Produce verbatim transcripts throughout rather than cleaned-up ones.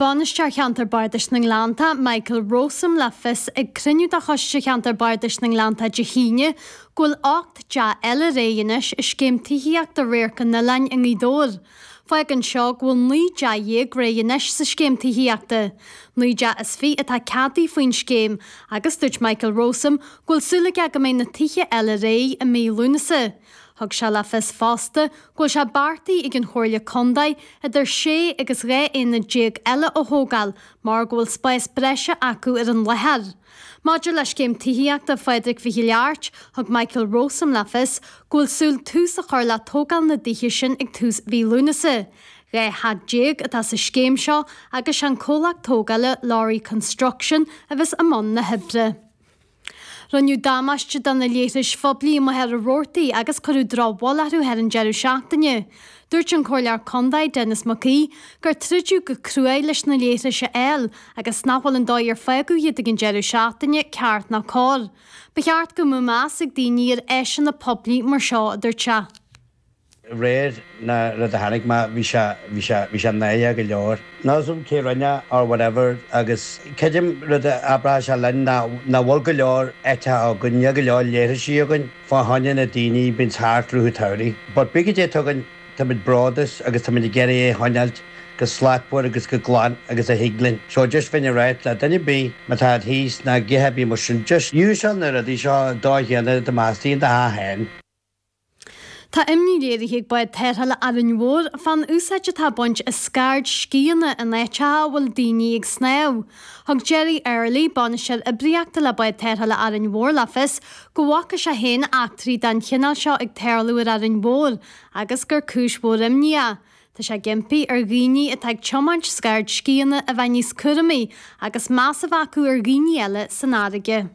Bainisteoir Cheantar Bardais na nGleannta, Michael Rowsome le fios ag cruinniú de Choiste Cheantar Bardais na nGleannta Dé hAoine go bhfuil ocht dteach eile réidh anois i scéim tithíochta Radharc an Oileáin i nGaoth Dobhair. Fágann seo go bhfuil naoi dteach dhéag réidh anois sa scéim tithíochta. Naoi dteach is fiche atá ceadaithe faoin scéim agus dúirt Michael Rowsome go bhfuil súil aige go mbeidh na tithe eile réidh i mí Lúnasa. Thug sé le fios fosta go bhfuil sé beartaithe ag an Chomhairle Contae idir sé agus dhá aonad déag eile a thógáil mar go bhfuil spás breise acu ar an láthair. Maidir le scéim tithíochta Phádraig Mhichíl Airt, thug Michael Rowsome le fios go bhfuil súil tús a chur le tógáil na dtithe sin ag tús mhí Lúnasa. Dhá theach déag atá sa scéim seo agus an comhlacht tógála Lowry Construction a bheas i mbun na hoibre. Rinneadh damáiste do na leithris phoiblí i Machaire Rabhartaigh agus cuireadh drochbhail orthu thar an deireadh seachtaine. Dúirt an Comhairleoir Contae Denis Mac Aoidh gur troideadh go cruaidh leis na leithris a fháil agus nach bhfuil an dóigh ar fágadh iad ag an deireadh seachtaine ceart ná cóir. Ba cheart go mbeadh meas ag daoine ar áiseanna poiblí mar seo a dúirt sé. Réir na rud a tháinig mé bhí sé bhí sé bhí sé náireach go leor. Níl 'fhios a'm cé rinne or whatever agus creidim rud a abraithe sé linn ná nach bhfuil go leor áiteacha againn, níl go leor leithrisí againn fá choinne na daoine bíonn thart i rith an tsamhraidh. But bí go dté tugann táimid bródúil agus táimid ag iarraidh é a choinneáilt go slachtmhar agus go glan agus a thig linn. So just bheinn ag ráit le duine ar bith má tá thíos ná githe bí mar sin just úsáid na rudaí seo dá chéanna do meastaíonn do theach féin. Tá imní léirithe ag Bád Tarrthála Árainn Mhór fán úsáid atá á baint as scairdscíonna in áiteacha a bhfuil daoine ag snámh. Thug Jerry Early, bainisteoir oibríochta le Bád Tarrthála Árainn Mhór le fios go bhfaca sé féin eachtraí den chineál seo ag tarlú ar Árainn Mhór agus gur cúis mhór imní é. Tá sé ag impí ar dhaoine atá ag tiomáint scairdscíonna a bheith níos cúramaí agus meas a bheith acu ar dhaoine eile san fharraige.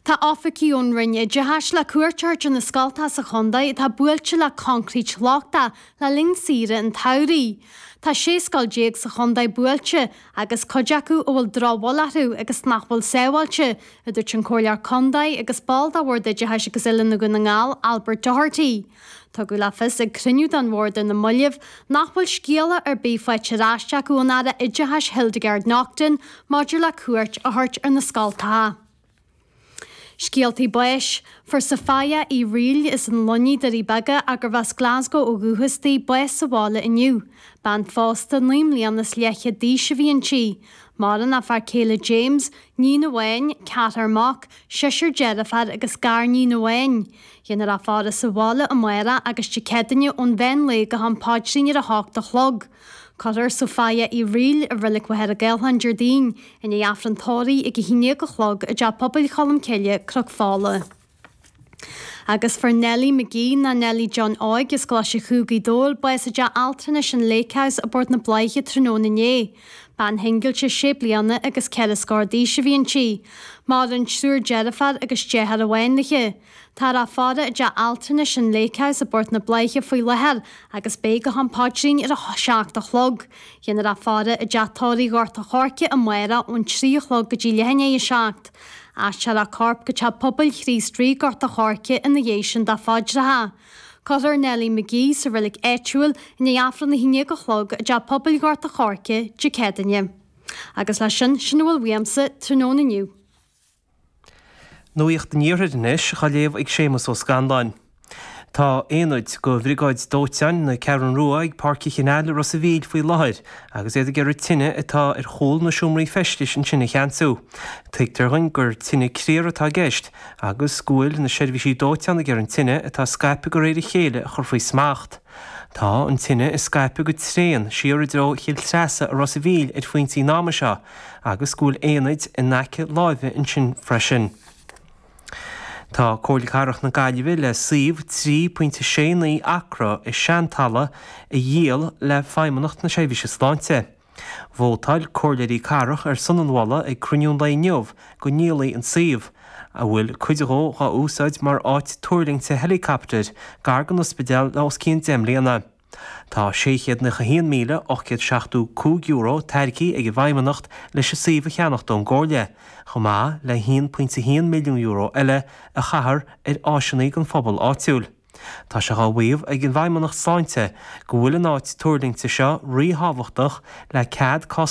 Tá oifigigh ón Roinn Oideachais le cuairt a thabhairt ar na scoltacha sa chontae atá buailte le concrete lochtach le linn saoire an tsamhraidh. Tá sé scoil déag sa chontae buailte agus cuid acu a bhfuil drochbhail orthu agus nach bhfuil sábháilte, a dúirt an Comhairleoir Contae agus ball de Bhord Oideachais agus Oiliúna Dhún na nGall, Albert Doherty. Tugadh le fios ag cruinniú den bhord ar na mallaibh nach bhfuil scéala ar bith faighte ar ais acu ón Aire Oideachais Hildegarde Naughton maidir le cuairt a thabhairt ar na scoltacha. Scéaltaí báis, fuair Sophia Uí Riail as an Luinnigh Doirí Beaga agus as Glasgow ó dhúchas di bás sa bhaile inniu. Bean phósta naoi mbliana is leathchéad d'aois a bhí inti. Maireann a fear céile James, iníon amháin, ceathrar mac, seisear deirfiúr agus gariníon amháin. Déanfar a faire sa bhaile amárach agus Dé Céadaoine ón mheán lae go ham paidrín ar a hocht a chlog. Cuirfear Sophia Uí Riail i Reilig Mhachaire Gathlán Déardaoin, i ndiaidh Aifreann tórraimh ag a haon déag a chlog i dTeach Pobail Cholm Cille, Cnoc Fola. Agus fuair Nellie McGee ná Nellie John Óig as Coláiste Chú Ghaoth Dobhair bás i dteach altranais an Lake House i bPort na Bláiche tráthnóna inné. Bean shingilte sé bliana agus ceithre scór d'aois a bhí inti. Maireann triúr deirfiúr agus deartháir amháin léi. Tá á faire i dteach altranais an Lake House i bPort na Bláiche faoi láthair agus beidh go ham paidrín ar a seacht a chlog. Déanfar a faire i dteach tórraimh Ghort a' Choirce amárach ón trí a chlog go dtí leath i ndiaidh a seacht. Aistreofar a corp go teach pobail Chríost Rí Gort a' Choirce ina dhiaidh sin do phaidreacha. Cuirfear Nellie McGee sa reilig áitiúil i ndiaidh Aifreann a haon déag a chlog i dteach pobail Ghort a' Choirce Dé Céadaoine. Agus leis sin sin a bhfuil uaimse tráthnóna inniu. Nuacht an Iarthair anois á léamh ag Séamus Ó Scanláin. Tá aonaid de bhriogáid dóiteáin na Ceathrún Rua ag Páirc an Chanáil i Ros a' Mhíl faoi láthair agus iad ag iarraidh tine atá ar chúl na seomraí feistis ansin a cheansú. Tuigtear dúinn gur tine criar atá i gceist agus go bhfuil na seirbhísí dóiteáin ag iarraidh an tine atá scaipthe de réir a chéile a chur faoi smacht. Tá an tine ag scaipeadh go tréan siar i dtreo Chill Treasa i Ros a' Mhíl ar phointí an ama seo agus go bhfuil aonaid in aice láimhe ansin freisin. Tá Comhairle Cathrach na Gaillimhe le suíomh trí pointe sé naoi acra i Seantalamh a dhíol le Feidhmeannacht na Seirbhíse Sláinte. Vótáil comhairleoirí cathrach ar son an mholadh ag cruinniú an lae inniu go ndíolfaí an suíomh, a bhfuil cuid dhó á úsáid mar áit tuirlingte helicopter gar don ospidéal le os cionn deich mbliana. Tá sé chéad nócha haon míle ocht gcéad seachtó cúig euro tairgthe ag an bhFeidhmeannacht leis an suíomh a cheannacht ón gcomhairle, chomh maith le haon pointe haon milliún euro eile a chaitheamh ar áiseanna don phobal áitiúil. Tá sé á mhaíomh ag an bhFeidhmeannacht Sláinte go bhfuil an áit tuirlingte seo ríthábhachtach le cead cás